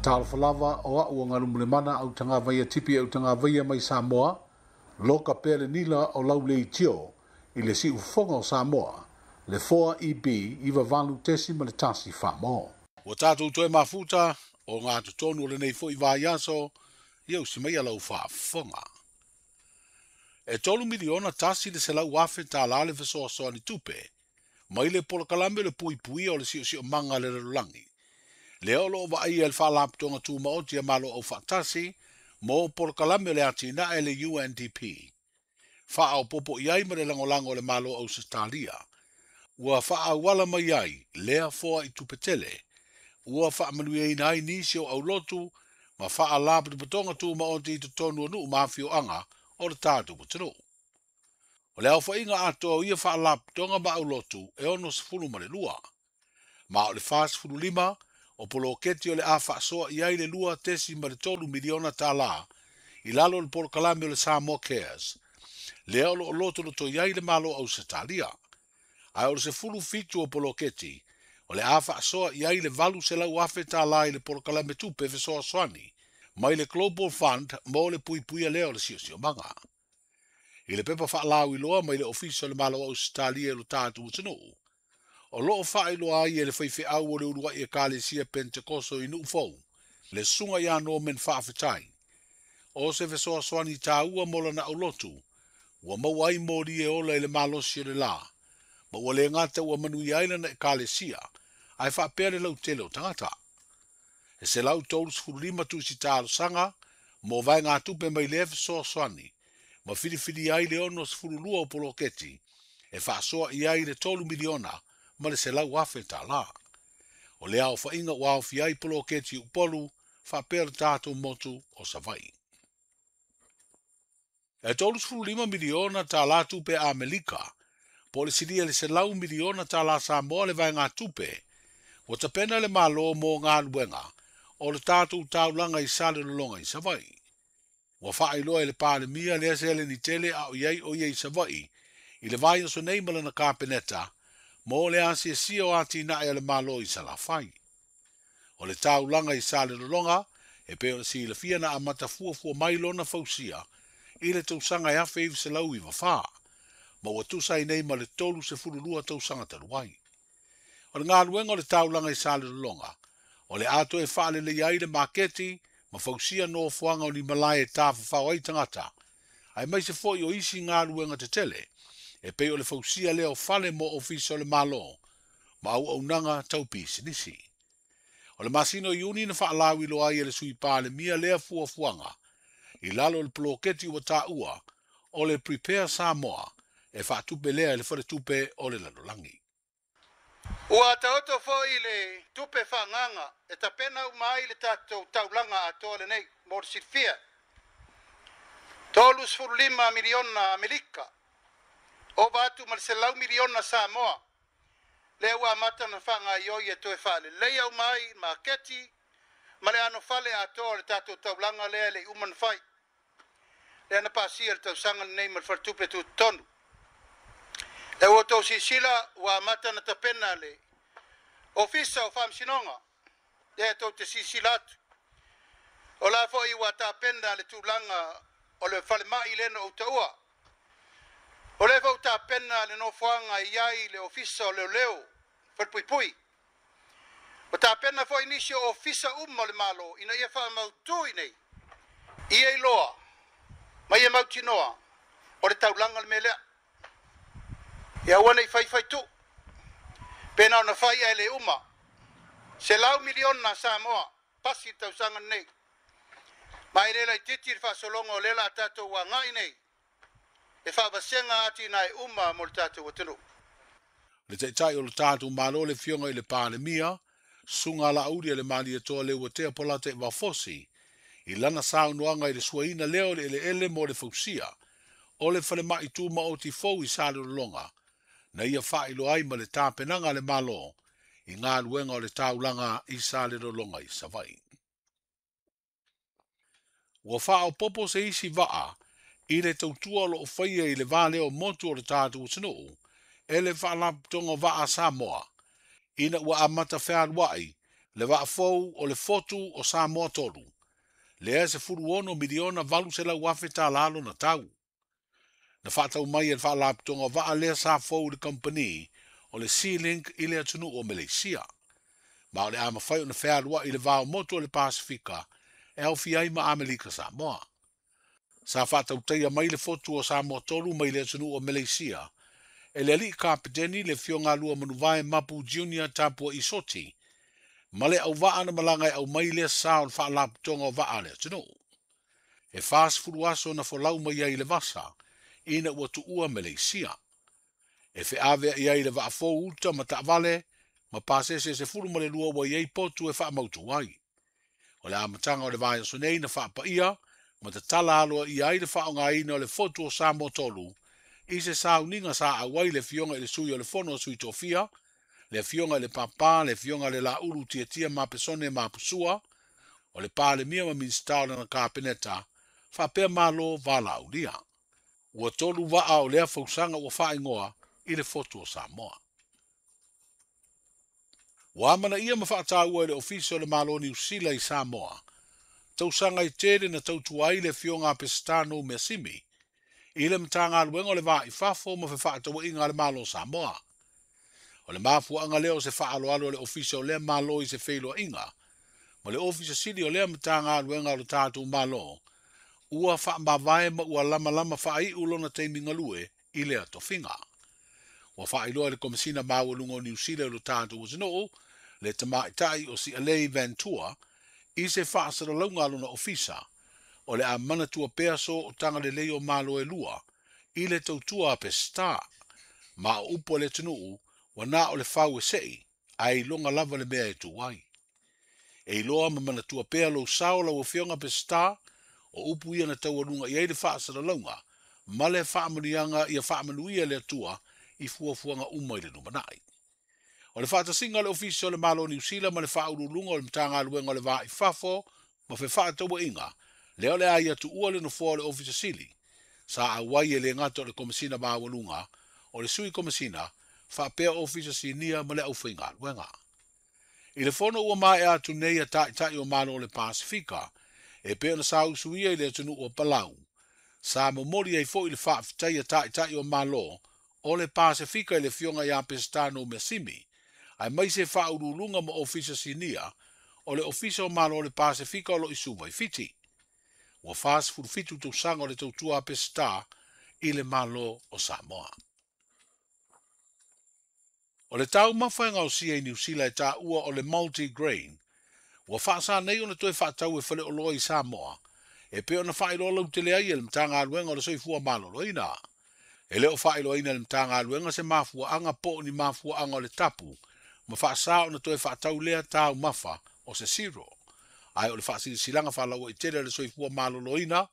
Talofa lava o a'u o Galumulemana Autagavaia Tipi Autagavaia mai Samoa, loka pea le nila o lau leitio i le siufofoga o Samoa, le 4EB 98.1 Famo. Ua tatou toe mafuta o ngā totonu o lenei foi vaiaso, ia usi mai lau faafofoga. E $3,100,000 le fesoasoani tupe, mai le polokalame le puipuia o le siosiomaga le lalolagi. Lea o loo vaaia le Faalapotopotoga Tumaoti a Malo Aufaatasi mo polokalame o le atinae le UNDP. Faaopoopo i ai ma le lagolago o le Malo Ausetalia. Ua faaauala mai ai lea foai tupe tele. Ua faamanuiaina ai nisi o aulotu ma Faalapotopotoga Tumaoti i totonu o nuu ma afioaga o le tatou atunuu. O le aofaiga atoa o ia faalapotopotoga ma aulotu e 62. Ma o le 45 o poloketi o le a faasoa i ai le $2.3 miliona i lalo o le polokalame o le Samoa Cares. Lea o loo lotoloto i ai le Malo Ausetalia. Ae o le 17 o poloketi o le a faasoa i ai le $800,000 i le polokalame tupe fesoasoani mai le Global Fund mo le puipuia lea o le siosiomaga. I le pepa faalauiloa mai le Ofisa o le Malo Ausetalia i lo tatou atunuu, o loo faailoa ai e le faifeau o le uluai Ekalesia Pentekoso i Nuufou, le susuga ia Norman Faafetai. O se fesoasoani taua mo lana aulotu, ua maua ai moli e ola i le malosi o le la, ma ua le gata ua manuia ai lana ekalesia, ae faapea le lautele o tagata. E 135 tusi talosaga mo vaegatupe mai lea fesoasoani, ma filifili ai le 62 o poloketi, e faasoa i ai le $3,100,000. O le aofaiga ua aofia ai poloketi i Upolu faapea le tatou motu o Savaii. E $35 miliona tupe Amerika, po o le silia le $100 miliona Samoa le vaegatupe, ua tapena le Malo mo galuega o le tatou taulaga i Salelologa i Savaii. Ua faailoa e le Palemia lea seleni tele a o i ai o ia i Savaii i le vaiaso nei ma lana Kapeneta mo le asiasia o atinae a le Malo i Salafai. O le taulaga i Salelologa e pei ona silafia na amata fuafua mai lona fausia i le tausaga e 1994, ma ua tusa ai nei ma le 32 tausaga talu ai. O le galuega o le taulaga i Salelologa, o le a toe faalelei ai le maketi ma fausia nofoaga o ni malae e tafafao ai tagata, aemaise foi o isi galuega tetele, e pei o le fausia lea o fale mo ofisa o le Malo ma auaunaga tau pisinisi. O le masina o Iuni na faalauiloa ai e le Sui Palemia lea fuafuaga i lalo o le poloketi ua taua o le Prepare Samoa e faatupe lea e le faletupe o le lalolagi. Ua taoto foi le tupe faaagaaga e tapena uma ai le tatou taulaga atoa lenei mo le silafia. 35 miliona Amerika, ova atu ma le 100 miliona Samoa, lea ua amata ona faagaoioi e toe faaleleia uma ai maketi ma le anofale atoa o le tatou taulaga lea e le i uma ona fai. Lea na pasia le tausaga lenei ma le faletupe tutotonu. E ua outou silasila ua amata ona tapena le Ofisa o Faamasinoga, lea tou te silasila atu. O la foi ua tapena le tulaga o le falemai lea na ou taua. O lea foi ua tapena le nofoaga e i ai le Ofisa o Leoleo, Falepuipui. Ua tapena foi nisi o ofisa uma o le Malo ina ia faamautu i nei, ia iloa ma ia mautinoa o le taulaga le mea lea. Ia aua ne i faifai tuu, pe na ona fai ae le uma. 100 miliona Samoa, pasi le tausaga lenei. Ma e le laitiiti le faasologa o lea la tatou agai nei, e faavasega atinae uma mo le tatou atunuu. Le taitai o le tatou Malo le afioga i le Palemia, susuga Alauli a le Malietoa Leuatea Polataivao Fosi, i lana saunoaga i le suaina lea o le eleele mo le fausia o le falemai tumaoti fou i Salelologa, na ia faailoa ai ma le tapenaga a le Malo i galuega o le taulaga i Salelologa i Savaii. Ua faaopoopo se isi vaa i le tautua o loo faia i le va lea o motu o le tatou atunuu e le Faalapotopotoga o Vaa Samoa, ina ua amata fealuai le vaafou o le fotu o Samoa 3, lea e $16,800,000 lona tau. Na whaatau mai e le whaalapotopotoga o vaa lea sa fou i le kamupani o le Sea-Link i le atunuu o Meleisia. Ma o le a mafai ona fealuai i le va o motu o le Pasifika e aofia ai ma Amerika Samoa. Sa faatautaia mai le fotu o Samoa 3 mai le atunuu o Meleisia e le alii kapeteni le Afioga Lua Manuvae Mapu Junior Tapua Isoti ma le auvaa na malaga e aumai lea sa o le faalapotopotoga o vaa a le atunuu. E 40 aso na folau mai ai i le vasa ina ua tuua Meleisia. E feaveai ai le vaafou uta ma taavale ma pasese 12 ua i ai potu e faamautu ai. O le amataga o le vaiaso nei na faapaia ma tatala aloaia ai le faaaogaina o le fotu o Samoa 3 i se sauniga sa auai le Afioga i le Sui o le Fono a Sui Tofia, le Afioga i le Papa, le Afioga i le Laulu Tiatia Mapesone Mapusua, o le Palemia ma Minisita o lana Kapeneta, faapea Malo Valaulia. Ua 3 vaa o lea fausaga ua faaigoa i le fotu o Samoa. Ua amanaia ma faataua e le Ofisa o le Malo o Niu Sila i Samoa, tausaga i tele na tautua ai le Afioga a Peseta Measimi i le Matagaluega o le Va i Fafo ma Fefaatauaiga a le Malo o Samoa. O le mafuaaga lea o se faaaloalo o le Ofisa o lea Malo i se feiloaiga ma le Ofisa Sili o lea Matagaluega o le tatou Malo ua faamavae ma ua lamalama faaiu lona taimi galue i lea tofiga. Ua faailoa e le Komesina Maualuga o Niu Sila i lo tatou atunuu le tamaitai o Sialei Ventura i se faasalalauga a lona ofisa o le a manatua pea so o tagalelei o Malo e lua i le tautua a Peseta. Ma o upu a le atunuu ua na o le fau e sei ae iloga lava le mea e tu ai. E iloa ma manatua pea lou sao lau Afioga Peseta o upu ia na taualuga i ai le faasalalauga ma le faamanuiaga ia faamanuia le Atua i fuafuaga uma i le lumanai. O le faatasiga o le Ofisa o le Malo o Niu Sila ma le faauluuluga o le Matagaluega o le Va i Fafo ma Fefaatauaiga lea o le a ia tuua le nofoa o le Ofisa Sili sa auai e le gata o le Komesina Maualuga o le Sui Komesina faapea Ofisa Sinia ma le aufaigaluega. I le fono ua maea atu nei a taitai o Malo o le Pasifika e pei ona sausuia i le atunuu o Palau, sa momoli ai foi le faafetai a taitai o Malo o le Pasifika i le Afioga ia Peseta Measimi, aemaise faauluuluga ma Ofisa Sinia o le Ofisa o Malo o le Pasifika o lo o i Suva i Fiti. Ua 47 tausaga o le tautua a Peseta i le Malo o Samoa. O le taumafa e gaosia i Niu Sila e taua o le multigrain, ua faasa nei ona toe faatau e faleoloa i Samoa, e pei ona faailoa lautele ai e le Matagaluega o le Soifua Maloloina. E le o faailoaina e le Matagaluega se mafuaaga po o ni mafuaaga o le tapu ma faasa ona toe faatau lea taumafa o se cereal. Ae o le faasilasilaga faalauaitele o le Soifua Maloloina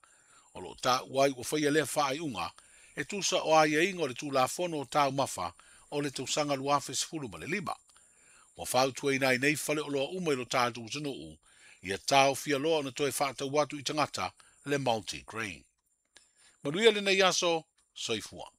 o lo o taua ai ua faia lea faaiuga e tusa o aiaiga o le Tulafono o taumafa o le tausaga 2015. Ua fautuaina ai nei faleoloa uma i lo tatou atunuu ia taofia loa ona toe faatau atu i tagata le multigrain. Manuia lenei aso, soifua.